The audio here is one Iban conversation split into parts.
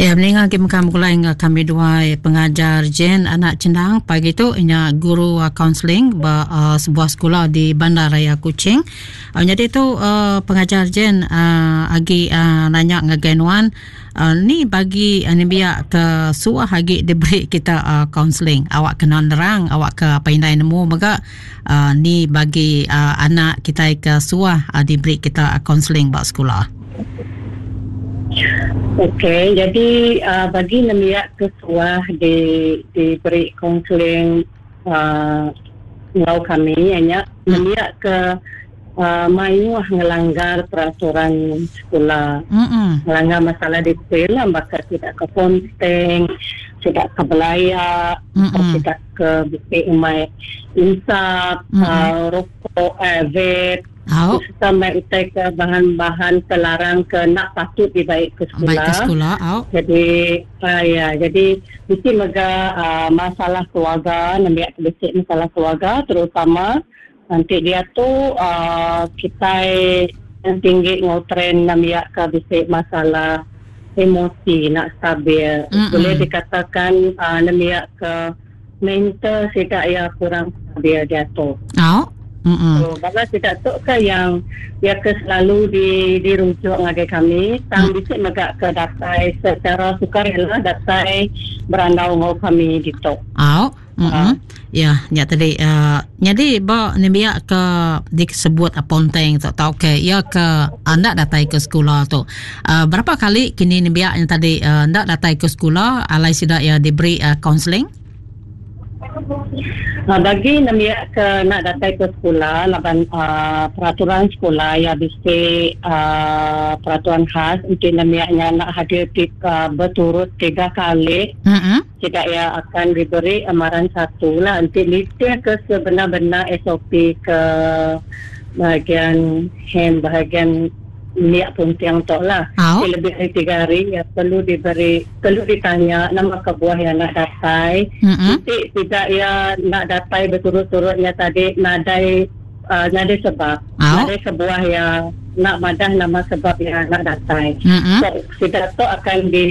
Ya meninga agi mega begulai enggau kami duai pengajar Jane anak Chendang pagi tu inya guru kaunseling ba uh, sebuah sekula di Bandar Raya Kuching. Uh, nyadi tu uh, pengajar Jane uh, agi uh, nanya ngagai nuan uh, ni bagi uh, nembiak ke suah agi diberi kita uh, kaunseling awak kena nerang awak ke apai indai nemu mega uh, ni bagi uh, anak kitai ke suah uh, diberi kita kaunseling ba sekula. Okey, jadi uh, bagi nembiak ke suah di diberi kaunseling uh, enggau kami iya nya nembiak ke uh, mayuh ngelanggar peraturan sekula. Mm-mm. Ngelanggar masalah disiplin lah baka sida ke ponteng, sida ke belaya, sida ke bisi umai insap, uh, rokok, eh, vape. Au. Sereta mai utai ke bahan-bahan ke larang ke enda patut dibai ke sekula. Bai ke sekula, au. Jadi uh, ya, jadi bisi mega uh, masalah keluarga, nembiak ke bisi masalah keluarga terutama enti diatu uh, kitai tinggi enggau trend nembiak ke bisi masalah emosi enda stabil. Mm-mm. Boleh dikatakan uh, nembiak ke mental sida iya kurang stabil diatu. Au. Mm-mm. So, bala sida tu ke yang iya ke selalu di dirujuk ngagai kami tang mm. bisi mega ke datai secara sukarela datai berandau enggau kami ditu. Au. Mm-mm. Uh. Ya, nya tadi uh, nyadi ba nembiak ke disebut ponteng tu tau ke iya ke anda datai ke sekula tu. Uh, berapa kali kini nembiak yang tadi uh, enda datai ke sekula alai sida iya diberi kaunseling? Uh, bagi nembiak ke nak datai ke sekula laban uh, peraturan sekula iya bisi uh, peraturan khas enti nembiak nya nak hadir ti, uh, berturut tiga kali mm-hmm. Sida iya akan diberi amaran satu lah enti nitih ke sebenar-benar SOP ke bahagian hem bahagian biak punting tu lah. Au. Ti lebih ari tiga hari iya perlu diberi perlu ditanya nama kebuah iya enda datai. Mm-mm. Enti sida iya enda datai beturut-turut nya tadi nadai uh, nadai sebab. Au. Nadai kebuah iya enda madah nama sebab iya enda datai. Mm-mm. So sida tu akan di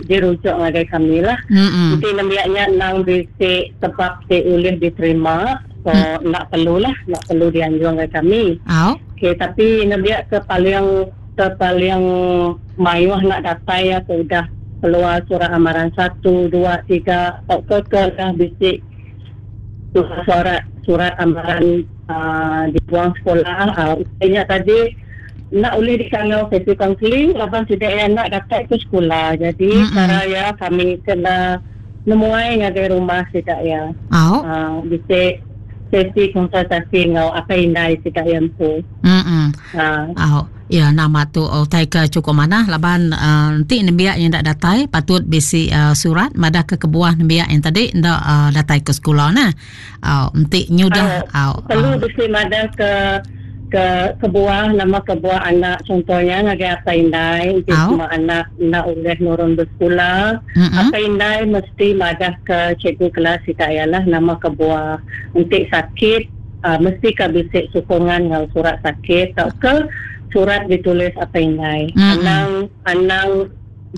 dirujuk ngagai kami lah. Mm-mm. Enti nembiak nya endang bisi sebab ti ulih diterima so Mm. enda perlu lah, enda perlu dianjung ngagai kami. Au. Okey, tapi nembiak ke paling ke paling mayuh enda datai iya ke udah keluar surat amaran satu, dua, tiga tauka ke udah bisi surat surat amaran uh, dibuang sekolah uh, utai nya tadi enda ulih dikangau sesi kaunseling laban sida iya enda datai ke sekolah. Jadi Mm-mm. cara iya kami kena nemuai ngagai rumah sida iya. Au. Uh, bisi sesi konsultasi enggau apai indai sida iya empu. Mm-mm. Uh, Au. Ya nama tu utai ke chukup manah laban uh, enti nembiak yang enda datai patut bisi uh, surat madah ke kebuah nembiak yang tadi enda uh, datai ke sekula nah. Au enti nyudah au au perlu uh, bisi madah ke ke kebuah nama kebuah anak contohnya ngagai apai indai enti au semua anak enda ulih nurun besekula mm apai indai mesti madah ke cikgu kelas sida iya lah nama kebuah enti sakit uh, mesti ka bisi sokongan enggau surat sakit tauka surat ditulis apai indai. Mm-mm. Anang anang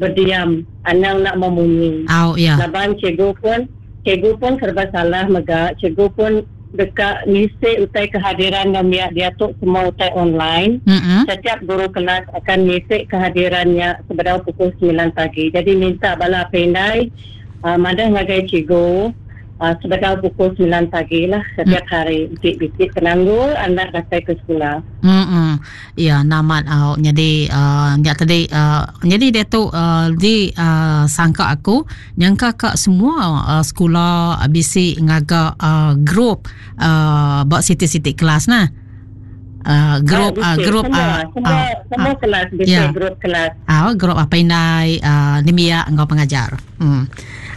berdiam, anang nak memunyi. Au ya. Laban cikgu pun cikgu pun serba salah mega, cikgu pun deka ngisi utai kehadiran nembiak diatu semua utai online. Mm-mm. Setiap guru kelas akan ngisi kehadirannya sebedau pukul 9 pagi. Jadi minta bala apai indai uh, madah ngagai cikgu uh, sebedau pukul 9 pagi lah setiap hari. Enti bisi penanggul anak datai ke sekula. Hmm. Ya namat au jadi uh, nya tadi uh, jadi dia tu uh, di uh, sangka aku nyangka ka semua uh, sekula uh, bisi ngaga uh, grup uh, ba siti-siti kelas nah. Uh, grup uh, uh, grup semua, uh, semua, uh, semua uh, kelas bisi ya. grup kelas. Uh, grup apa indai uh, nembiak enggau pengajar. Hmm.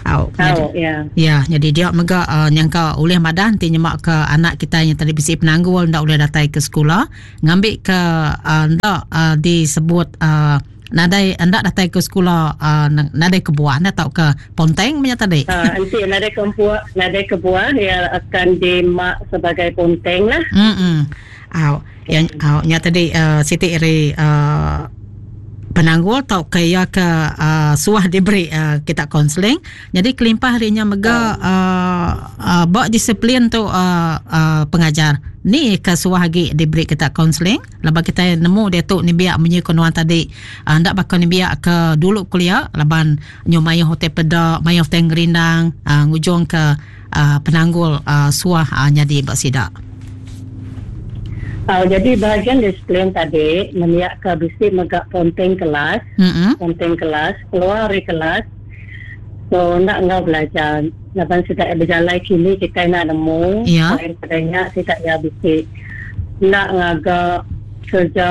Au, jadi, Au, ya. Ya, jadi dia mega uh, nyangka ulih madah enti nyema ke anak kita yang tadi bisi penanggul ndak ulih datai ke sekula ngambi ke uh, ndak uh, disebut uh, nadai ndak datai ke sekula uh, nadai kebuah nda tau ke ponteng menya tadi. Uh, enti nadai kebuah, nadai kebuah ia akan dimak sebagai ponteng lah. Hmm. Au, ya, au nya tadi uh, siti ri uh, penanggul tauka iya ke uh, suah diberi uh, kita konseling. Jadi kelimpah ari nya mega uh, uh, ba disiplin tu uh, uh, pengajar ni ke suah agi diberi kita konseling laban kita nemu diatu nembiak munyi ku nuan tadi uh, enda baka nembiak ke dulu kelia laban nyu mayuh utai peda mayuh utai ngerindang uh, ngujung ke uh, penanggul uh, suah uh, nyadi ba sida. Jadi bahagian disiplin tadi nembiak ke bisi mega ponteng kelas, mm-hmm. ponteng kelas, keluar ari kelas. So enda enggau belajar laban sida bejalai kini kitai enda nemu. Yeah. Selain pada nya sida iya bisi enda ngaga kerja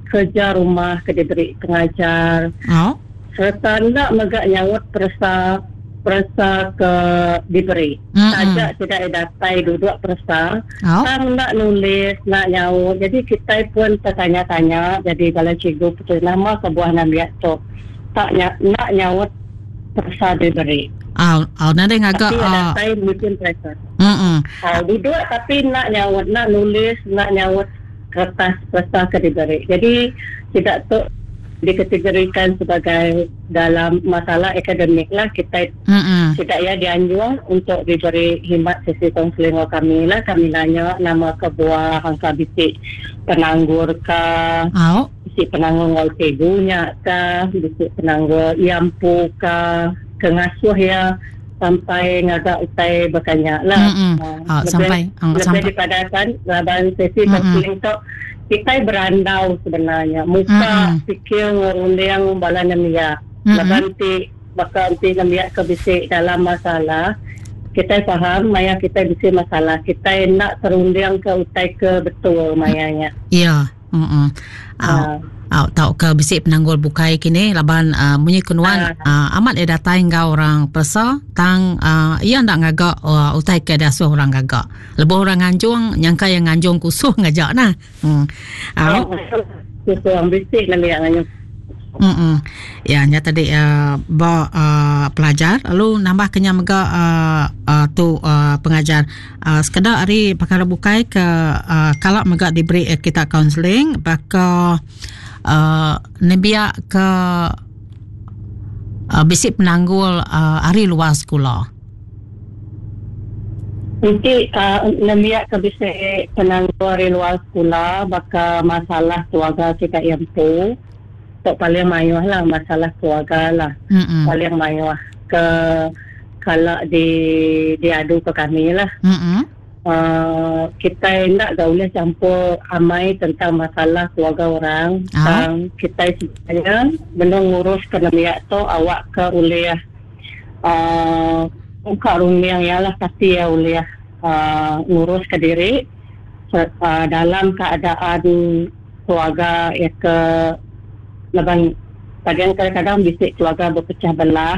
kerja rumah ke diberi pengajar. Oh. Sereta enda mega nyaut peresa peresa ke diberi. Taja sida iya datai duduk peresa, tang enda nulis, enda nyaut. Jadi kitai pun tetanya-tanya jadi bala cikgu peti nama kebuah nembiak tu tak nya enda nyaut peresa diberi. Au, au nadai ngaga Tapi iya datai musim peresa. Au duduk tapi enda nyaut, enda nulis, enda nyaut kertas peresa ke diberi. Jadi sida tu dikategorikan sebagai dalam masalah akademik lah kitai sida iya dianjung untuk diberi khidmat sesi kaunseling enggau kami lah kami nanya nama kebuah angka bisi penanggul ka bisi penanggul enggau cikgu nya ka bisi penanggul iya empu ka ke ngasuh iya sampai ngaga utai baka nya lah. Uh, sampai lebih, lebih dipadahkan laban sesi kaunseling tu kitai berandau sebenarnya muka mm-hmm. fikir ngerunding bala nembiak mm-hmm. laban ti baka enti nembiak ke bisi dalam masalah kitai faham maya kitai bisi masalah kitai enda terunding ke utai ke betul maya nya. Ya. Mm-mm. Uh. Au tauka bisi penanggul bukai kini laban uh, munyi ke nuan uh. Uh, amat ia datai enggau orang peresa tang uh, ia enda ngaga uh, utai ke diasuh orang gaga. Lebuh orang nganjung nyangka ia nganjung kusung aja nah. Hmm. Au. Kusung bisi nembiak nganjung. Mm-mm. Ya nya tadi uh, ba uh, pelajar lalu nambah ke nya mega uh, uh, tu uh, pengajar uh, sekeda ari perkara bukai ke uh, kala mega diberi uh, kita kaunseling baka uh, nembiak ke uh, bisi penanggul uh, ari luar sekula. Enti uh, nembiak ke bisi penanggul ari luar sekula baka masalah keluarga sida iya empu tu paling mayuh lah masalah keluarga lah Mm-mm. paling mayuh ke kala di diadu ke kami lah. Mm-mm. Kitai enda ga ulih champur amai tentang masalah keluarga orang Ah. tang kitai sebenarnya benung ngurus ke nembiak tu awak ke ulih uhh muka runding iya lah kati iya ulih uhh ngurus ke diri uhh dalam keadaan keluarga iya ke laban kadang kadang bisi keluarga bepecah belah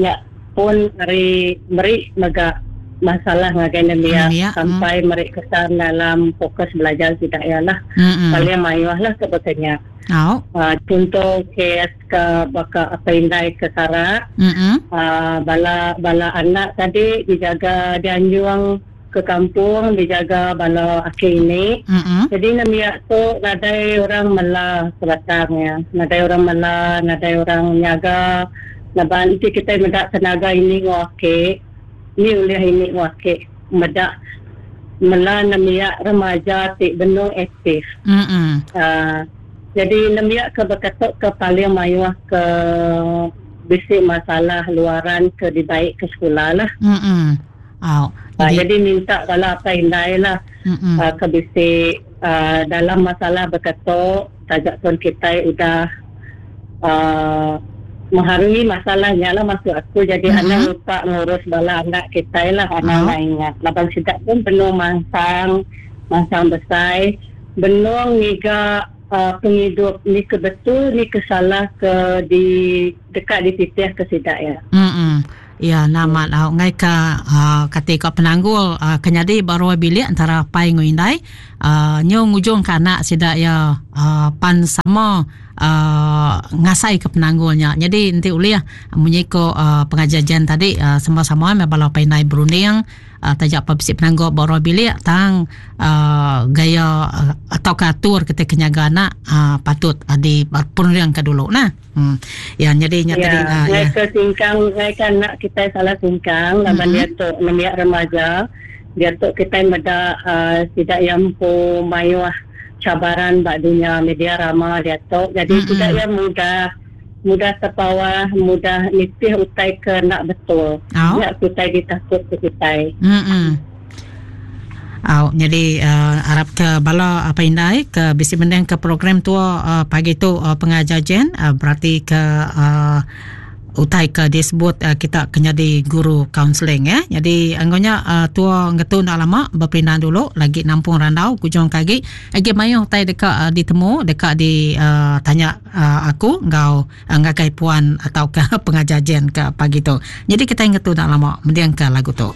nya pun ari meri mega masalah ngagai nembiak sampai meri kesan dalam fokus belajar sida iya lah paling mayuh lah ke baka nya. Uhh chunto kes ke baka apai indai ke sarak uhh bala bala anak tadi dijaga dianjung ke kampung dijaga bala aki ini. Jadi nembiak tu nadai orang mela sebatang iya. Nadai orang mela, nadai orang nyaga laban enti kitai meda tenaga ini enggau aki, ni ulih ini enggau aki meda mela nembiak remaja ti benung aktif. Aaa jadi nembiak ke baka tu ke paling mayuh ke bisi masalah luaran ke dibai ke sekula lah. Au. Jadi, jadi minta bala apai indai lah uh, ke bisi uh, dalam masalah beketu taja pun kitai udah uh, mengharungi masalah nya lah maksud aku jadi mm-hmm. anang lupa ngurus bala anak kitai lah anang oh. ingat laban sida pun benung mansang mansang besai benung ngiga uh, pengidup ni ke betul ni ke salah ke di deka dititih ke sida ya. Mm-hmm. Iya enda amat au enggai ka uhh kati ka penanggul uhh ke nyadi ba ruai bilik entara apai enggau indai uhh nyu ngujung ka anak sida iya uhh pan sama. uh, ngasai ke penanggul nya. Jadi enti ulih munyi ko uh, pengajar Jen tadi uh, sama-sama meh bala apai indai berunding uh, taja pa bisi penanggul ba ruang bilik tang uh, gaya uh, atau ke atur kita ke nyaga anak uh, patut uh, di perunding ke dulu nah. Hmm. Ya jadi nya ya, tadi uh, ya. Ke singkang ngai ke anak kita salah singkang laban mm-hmm. dia tu nembiak remaja dia tu kita meda uh, sida yang empu mayuh cabaran ba dunya media rama dia tu jadi mm-hmm. sida yang mudah mudah terpawah mudah nitih utai ke nak betul oh. Ya utai ditakut ke kita. Mm-hmm. Au nyadi uh, arap ke bala apai indai ke bisi mending ke program tua uh, pagi tu uh, pengajar Jen uh, berarti ke uh, utai ke disebut uh, kita ke nyadi guru kaunseling ya. Jadi anggonya uh, tua ngetu enda lama bepindah dulu lagi nampung randau kujung ke agi agi mayuh utai deka uh, ditemu deka di uh, tanya uh, aku enggau uh, ngagai puan atau ke pengajar Jen ke pagi tu. Jadi kita ngetu enda lama mending ke lagu tu.